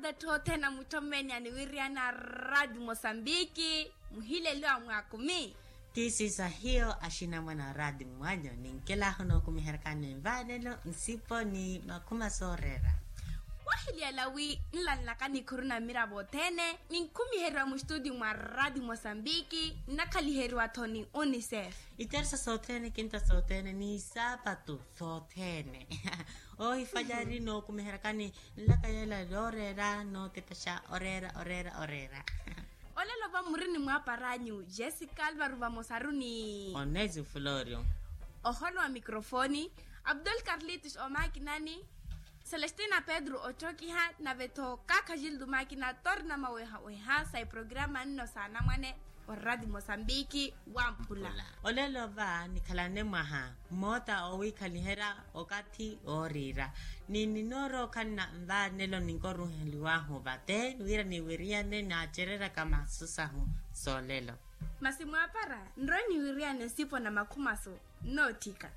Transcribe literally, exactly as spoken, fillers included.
Etthu othene a mutthommeni aniwiriyana a raati mosambiki, muhileliwa mwaakumi. Ti siisahiyo axinamwana a raati mwanyu ninkelahu nookumiheryakani nvaanelo nsipo ni makhuma sooreera. Wahiliyala wi nlanlaka nikhuru na mmiravo othene, ninkhumiheriwa muxituti mwa raati mosambiki nnakhaliheriwa-tho ni unicef. Iteresa sothene kinta sothene ni saapatu sothene. Ohifalyari nookumiheryakani nlaka yeela yooreera nootepexa oreera oreera oreera. Olelo va muri ni mwaaparanyu jessica alvaro vamosaru ni onesi florio. Oholo wa mikrofoni abdul carlitos omakinani, celestina pedro otthokiha nave-tho kaakha gildo makina torna mawehaweha sa iprograma nno sa anamwane. Orati mosambiki wamphula. Olelo va nikhalane mwaha mmoota owiikhaliherya okathi wooriira ni ninoorookhanna nvaanelo ninkoruheliwahu vate wira niwiriyane naacereryaka masu sahu. Soolelo masi mwaapara nrowe niwiriyane nsipo na makhumaso nnootthika.